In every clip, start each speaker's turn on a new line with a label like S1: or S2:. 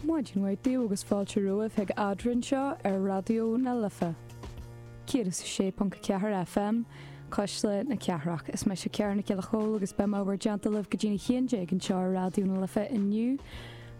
S1: Maidin mhaith daoibh agus fáilte romhaibh chuig Eadrainn anseo ar Raidió na Life 106.4 FM, Cuisle na Cathrach. Is mise Ciara Nic Giolla Chóill agus beidh mé bhur dteannta libh go dtí'n 11 anseo ar Raidió na Life inniu.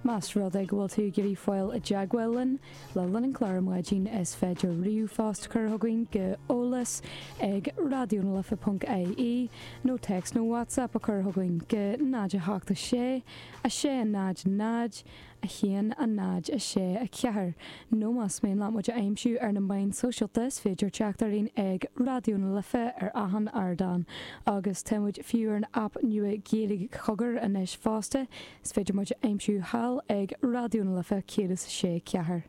S1: Más rud é go bhfuil tú ag iarraidh fáil i dteagmháil linn le linn an chláir ar maidin is féidir ríomhphost a chur chugainn go eolas ag raidionalife.ie nó téacs nó WhatsApp a chur chugainn go 0 8 6 6 0 0 1 0 6 4 nó más mian leat muid a aimsiú ar na meáin sóisialta is féidir teacht orainn ag Raidió na Life ar achan ardán agus tá muid fiú ar an aip nua Gaeilge Cogar anois fosta, is féidir muid a aimsiú thall ag Raidió na Life 106 4.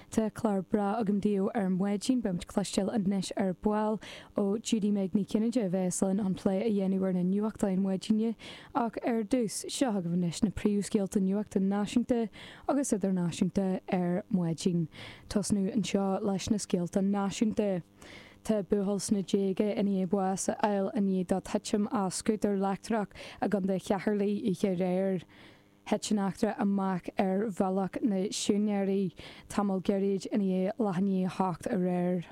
S1: Tá clár breá agam daoibh ar maidin, beidh muid ag cloisteáil anois ar ball ó Judy Meg Ní Chinnéide a bheas linn chun plé a dhéanamh ar na nuachtáin maidine. Ach ar dtús, seo chugaibh anois na príomhscéalta nuachta náisiúnta agus idirnáisiúnta ar maidin. Tosnú anseo leis na scéalta náisiúnta. Tá buachaill sna déaga i ndiaidh bás a fháil i ndiaidh dó titim as scútar leictreach i gContae Cheatharlaigh oíche aréir. Thit an eachtra amach ar Bhealach na Siúinéirí tamall gairid i ndiaidh leath i ndiaidh a hocht aréir.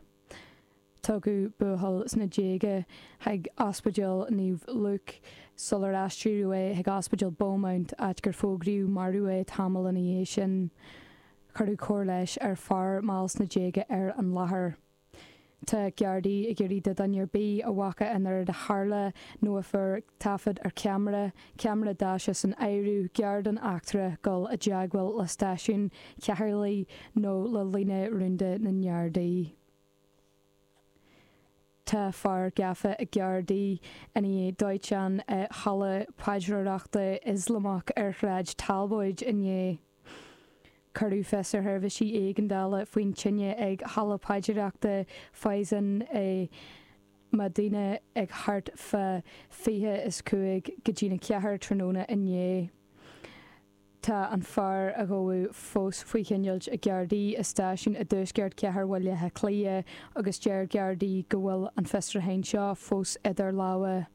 S1: Tugadh buachaill sna déaga chuig Ospidéal Naomh Luke sular aistríodh é chuig Ospidéal Beaumont, áit gur fógraíodh marbh é tamall ina dhiaidh sin. Cuireadh cóir leighis ar fear mall sna déaga ar an láthair. Tá Gardaí ag iarraidh do dhuine ar bith a bhfaca an rud a tharla nó a fuair taifead ar cheamara, ceamara daise san áireamh, gar don eachtra, dul i dteagmháil le stáisiún Cheatharlaigh nó le líne rúnda na nGardaí. Tá fear gafa ag Gardaí i ndiaidh dóiteán i halla paidreoireachta Ioslamach ar Shráid Talbóid inné. Cuireadh fios ar sheirbhísí éigeandála faoin tine ag halla paidreoireachta Faizan i Madina ag thart fá 4:35 go dtína 4 tráthnóna inné. Tá an fear a gabhadh fós faoi choinneáilt ag Gardaí i stáisiún i dtuaisceart chathair Bhaile Átha Cliath agus deir Gardaí go bhfuil an fiosrúchán seo fós idir lámha.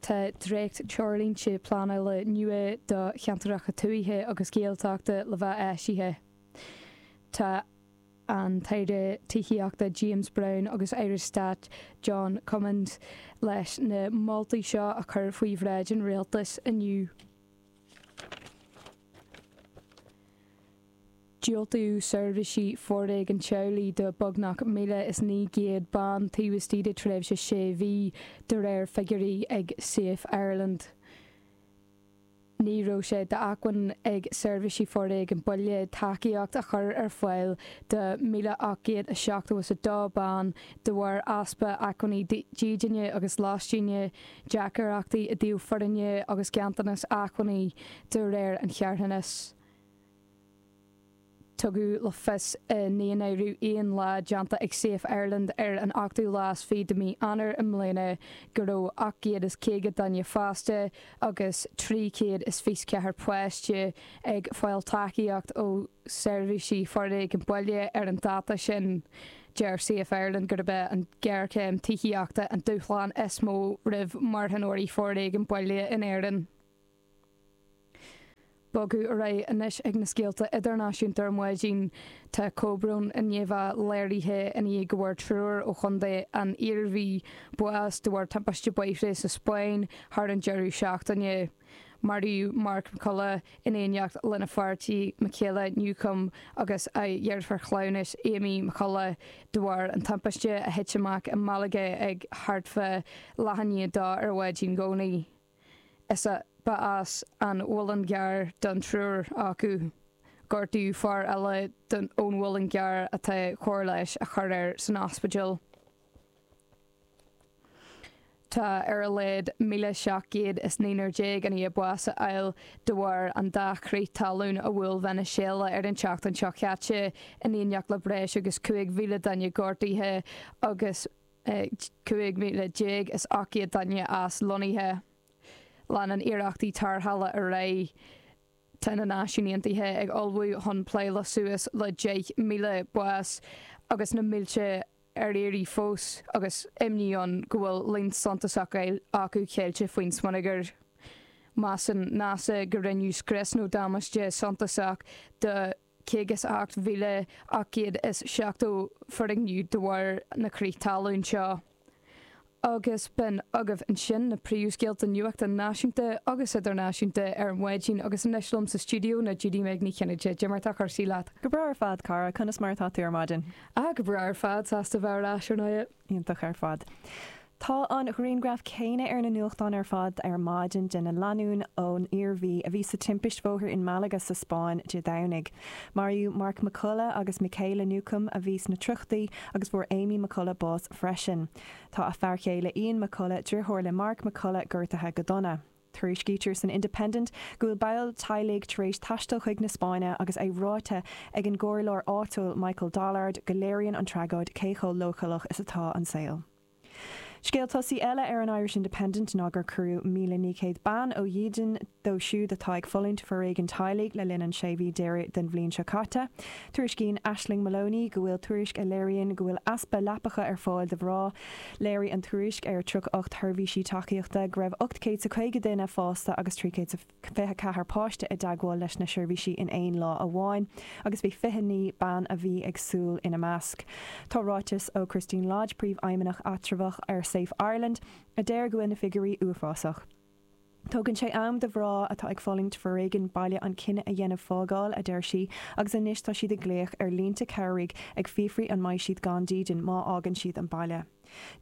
S1: Tá dréacht-treoirlínte pleanála nua do cheantracha tuaithe agus Gaeltachta le bheith eisithe. Tá. an tAire Tithíochta James Browne agus Aire Stáit John Cummins leis na moltaí seo a chur faoi bhráid an Rialtais inniu. Diúltaíodh seirbhísí foréigin teaghlaigh do beagnach 1,900 bean taobh istigh de tréimhse sé mhí, de réir figiúirí ag Safe Ireland. Ní raibh sé d'acmhainn ag seirbhísí foréigin baile tacaíocht a chur ar fáil do 1,872 bean de bharr easpa acmhainní dídine agus lóistíne, deacrachtaí i dtaobh foirne agus ganntanas acmhainní, de réir an charthanais. Tugadh le fios i ndaonáireamh aon lá déanta ag Safe Ireland ar an ochtú lá is fiche de mhí Eanáir i mbliana go raibh 850 duine fásta agus 324 páiste ag fáil tacaíocht ó sheirbhísí foréigin baile ar an dáta sin. Deir Safe Ireland gurb é an ghéarchéim tithíochta an dúshlán is mó roimh mharthanóirí foréigin baile in Éirinn. Bogadh ar aghaidh anois ag na scéalta idirnáisiúnta ar maidin. Tá comhbhrón i ndiaidh bheith léirithe i ndiaidh go bhfuair triúr ó chontae an Iarmhí bás de bharr timpiste bóithre sa Spáinn thar an deireadh seachtaine. Maraíodh Mark McCullough in éineacht lena pháirtí Michaela Newcombe agus a dheirfiúr chleamhnais Amy McCullough de bharr an timpiste a thit amach i Malaga ag thart fá leath i ndiaidh a dó ar mhaidin Dhomhnaigh. Is ba as an Mhuileann gCearr don triúr acu. Gortaíodh fear eile ón Mhuileann gCearr atá cóir leighis á cur air san ospidéal. Tá ar a laghad 1,719 i ndiaidh bás a fháil de bharr an dá chrith talún a bhuail Veiniséala ar an tseachtain seo caite, in éineacht le breis agus 5,000 duine gortaithe agus 15,800 duine aslonnaithe. Leanann iarrachtaí tarrthála ar aghaidh. Tá na Náisiúin Aontaithe ag ullmhú chun plé le suas le 10,000 bás agus na mílte ar iarraidh fós agus imní ann go bhfuil líon suntasach acu ceilte faoin smionagar. Measann NASA go rinneadh scrios nó damáiste suntasach do 58,870 foirgneamh de bharr na crith talún seo. Agus b'in agaibh ansin na príomhscéalta nuachta náisiúnta agus idirnáisiúnta ar maidin agus anois liom sa stiúideo ná Judy Meg Ní Chinnéide. Cad é mar atá cúrsaí leat?
S2: Go breá ar fad, cara. Conas mar atá tú ar maidin?
S1: Ah, go breá ar fad. Sásta bheith ar ais ar ndóigh.
S2: Iontach ar fad. Tá an ghrianghraf céanna ar na nuachtáin ar fad ar maidin de na lánúin ón Iarmhí a bhí sa timpist bhóthair in Malaga sa Spáinn Dé Domhnaigh. Maraíodh Mark McCullough agus Michaela Newcombe a bhí sna tríochaidí agus fuair Amy McCullough bás freisin. Tá a fear chéile Ian McCullough, driotháir le Mark McCullough, gortaithe go dona. Tuairiscítear san Independent go bhfuil baill teaghlaigh tar éis taisteal chuig na Spáinne agus é ráite ag an gcomhairleoir áitiúil Michael Dollard go léiríonn an tragóid cé chomh leochaileach is atá an saol. Scéal tosaigh eile ar an Irish Independent ná gur cuireadh 1,900 bean ó dhídean dóibh siúd atá ag fulaingt foréigean teaghlaigh le linn an sé mhí deiridh den bhliain seo caite. Tuairiscíonn Aisling Moloney go bhfuil tuairisc a léiríonn go bhfuil easpa leapacha ar fáil do mhná. Léirigh an tuairisc ar 38 sheirbhísí tacaíochta go raibh 850 duine fásta agus 324 páiste i dteagmháil leis na seirbhísí in aon lá amháin agus bhí 29 bean a bhí ag súil ina measc. Tá ráiteas ó Christine Lodge, Príomhfheidhmeannach eatramhach ar Safe Ireland, a deir go bhfuil na figiúirí uafásach. Tógann sé am do mhná atá ag fulaingt foréigean baile an cinneadh a dhéanamh fágáil, a deir sí, agus anois tá siad ag glaoch ar línte cabhraigh ag fiafraí an mbeidh siad gan dídean má fhágann siad an baile.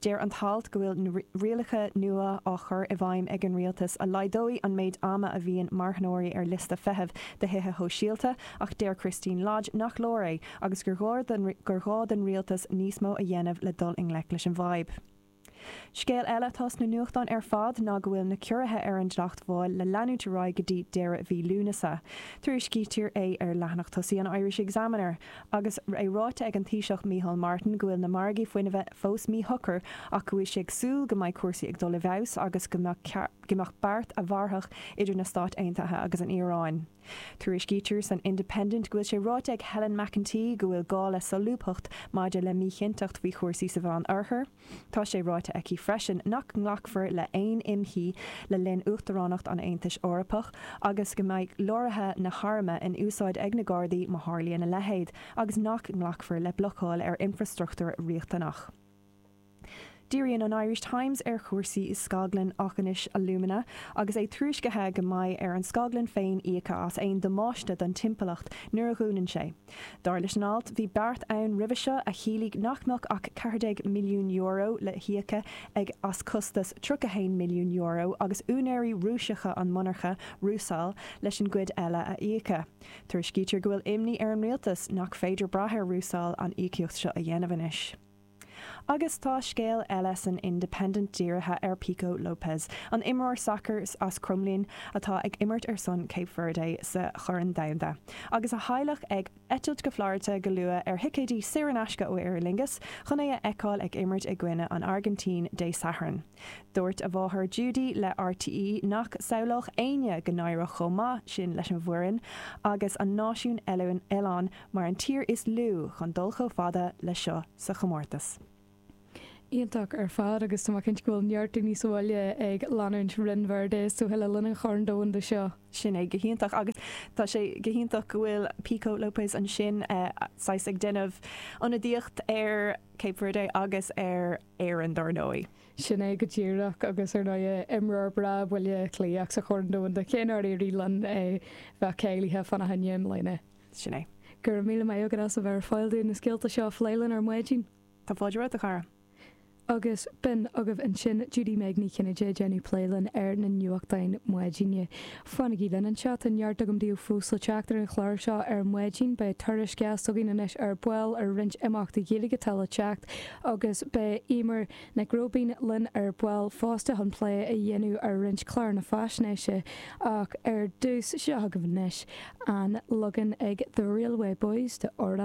S2: Deir an t-alt go bhfuil na rialacha nua á chur i bhfeidhm ag an rialtas a laghdóidh an méid ama a bhíonn marthanóirí ar liosta feithimh do thithe shóisialta ach deir Christine Lodge nach leor é agus gur ghá don rialtas níos mó a dhéanamh le dul i ngleic leis an bhfadhb. Scéal eile atá sna nuachtáin ar fad ná go bhfuil na ciorruithe ar an dleacht mháil le leanúint ar aghaidh go dtí deireadh mhí Lúnasa. Tuairiscítear é ar leathanach tosaigh an Irish Examiner agus é ráite ag an Taoiseach Micheál Martin go bhfuil na margaí fuinnimhe fós míshocair ach go bhfuil sé ag súil go mbeidh cúrsaí ag dul i bhfeabhas agus go mbeadh beart a mhairfeadh idir na Stáit Aontaithe agus an Iaráin. Tuairiscítear san Independent go bhfuil sé ráite ag Helen McEntee go bhfuil gá le solúbthacht maidir le míchinnteacht faoi chúrsaí sa Mheán Oirthear. Tá sé ráite aici freisin nach nglacfar le haon imshuí le linn Uachtaránacht an Aontais Eorpach agus go mbeidh leoraithe na hairme in úsáid ag na Gardaí má tharlaíonn a leithéid agus nach nglacfar le blocáil ar infreastruchtúr riachtanach. Díríonn an Irish Times ar chúrsaí scaglann Aughinish Alumina agus é tuairiscithe go mbeidh ar an scaglann féin íoc as aon damáiste don timpeallacht nuair a dhúnann sé. Dar leis an alt, bhí beart ann roimhe seo a chiallaigh nach mbeadh ach €14 milliún le híoc ag as costas €31 milliún agus úinéirí Rúiseacha an monarcha, Rusal, leis an gcuid eile a íoc. Tuairiscítear go bhfuil imní ar an rialtas nach féidir brath ar Rusal an íocaíocht seo a dhéanamh anois. Agus tá scéal eile san Independent dírithe ar Pico Lopes, an imreoir sacair as Cromghlinn atá ag imirt ar son Cape Verde sa Chorn Domhanda, agus a theaghlach ag eitilt go Florida go luath ar thicéidí saor in aisce ó Aer Lingus chun é a fheiceáil ag imirt i gcoinne an Airgintín Dé Sathairn. Dúirt a mháthair Judy le RTÉ nach samhlódh éinne go n-éireodh chomh maith sin leis an bhfoireann agus an náisiún oileáin mar an tír is lú chun dul chomh fada le seo sa chomórtas.
S1: Iontach ar fad agus tá mé cinnte go bhfuil neart daoine sa bhaile ag leanúint Roinn Verde is dócha le linn an Chorn Domhanda seo.
S2: Sin é, go hiontach agus tá sé go hiontach go bhfuil Pico Lopes ansin saghas ag déanamh ionadaíocht ar Cape Verde agus ar Éirinn dár ndóigh.
S1: Sin é go díreach agus ar ndóigh imreoir breá Bhaile Átha Cliath sa Chorn Domhanda cé nár éirigh linn bheith cáilithe fána choinne i mbliana.
S2: Sin é.
S1: Go raibh míle maith agat as a bheith ar fáil dúinn na scéalta seo a phlé linn ar maidin.
S2: Tá fáilte romhat, a chara.
S1: Agus b'in agaibh ansin Judy Meg Ní Chinnéide ag déanamh plé linn ar na nuachtáin maidine. Fanaigí linn anseo, tá neart agam daoibh fós le teacht ar an chlár seo ar maidin. Beidh tuairisc dheas againn anois ar ball ar roinnt imeachtaí Gaeilge atá le teacht agus beidh Eimear Nic Róibín linn ar ball fosta chun plé a dhéanamh ar roinnt cláranna faisnéise. Ach ar dtús, seo agaibh anois an leagan ag The Railway Boys de Amhrán.